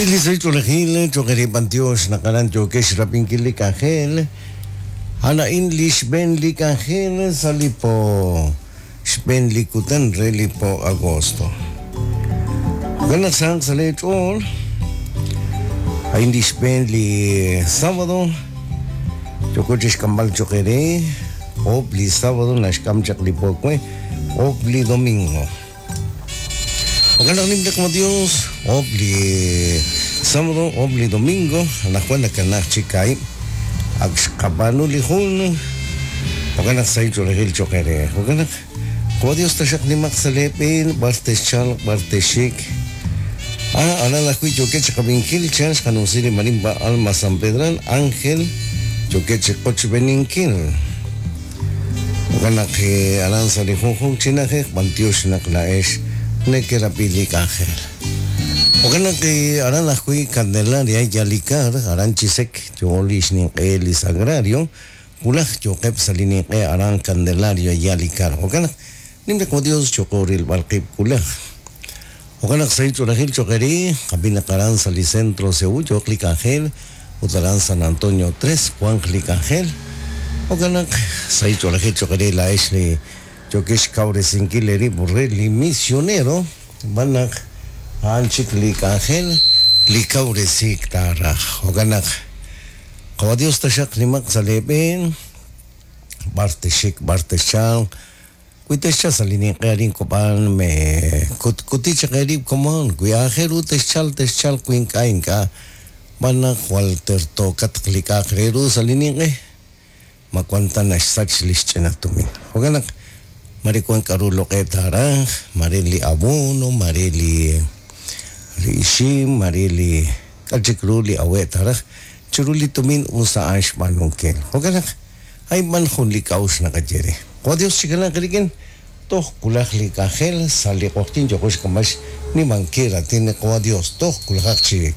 Rab'i li sahil ch'oolejil cho'q eere b'antiox naq aran yookex xrab'inkil li k'anjel. A'an a'in li xb'een li k'anjel sa' li po xb'een li kutan re li po agosto. Jo'kan naq sahaq sa' lee ch'ool. A'in li xb'een li sábado yooko chixk'amb'al cho'q eere. Oob' li sábado naxk'am chaq li po we, oob' li domingo. Jo'kan naq nim li qaDios, oob' li sábado, oob' li domingo, anaqwan nakanaak chik kaahib'. Ak xqab'aanu li jun, jo'kan naq sahil ch'oolejil cho'q eere. Jo'kan naq, qaDios taxaq nimaq sa' lee b'een, b'ar texchalq, b'ar texxik. Ah, aran ajwi' yookeb' chi qab'inkil chan xqanumsi li marimba Alma San Pedral, Ángel, yookeb' chi qochb'eeninkil. Jo'kan naq aran sa' li junjunq chi na'ajej b'antiox naq laa'ex nekerab'i li k'anjel. Jo'kan naq aran ajwi' Candelaria Yalikar, aran Chisec, yo li xninq'e li Sagrario, wulaj yooqeb' sa' li ninq'e aran Candelaria Yalikar. Jo'kan naq nim li qaDios cho'q rilb'al qib' wulaj. Jo'kan naq sahil ch'oolejil cho'q eere, qab'i naq aran sa' li Centro Seúl yooq li k'anjel ut aran San Antonio Tres wanq li k'anjel. Jo'kan naq sahil ch'oolejil cho'q eere laa'ex li yookex xkawresinkil eerib' re li misionero, xb'aan naq a'an chik li k'anjel li kawresiik taaraj. Jo'kan naq Qawa' Dios taxaq nimaq sa' lee b'een, b'ar texxik, b'ar texchalq, Wi texchalq sa' li ninq'e arin Cobán, me kutkuti chaq eerib' komon. Wi aajel ru texchalq, texchalq, wi ink'a', ink'a'. Xb'aan naq jwal tertookatq li k'a'aq re ru sa' li ninq'e, ma wan ta naxsach li xch'ina tumin. Jo'kan naq mare wan k'a'ru loq'e taaraj, mare li abono, mare li li ixim, mare li k'a' chik ru li awe' taaraj, chiru li tumin us a'an xb'aanunkil. Jo'kan naq A'in b'an jun li k'a'uxl naqaye re. Jo' Dios chikanaaq rik'in, toj wulaj li k'anjel sa' li q'oqyink yo'qo xk'amb'al xnimankil raatin li Qawa' Dios, toj wulajaq chik.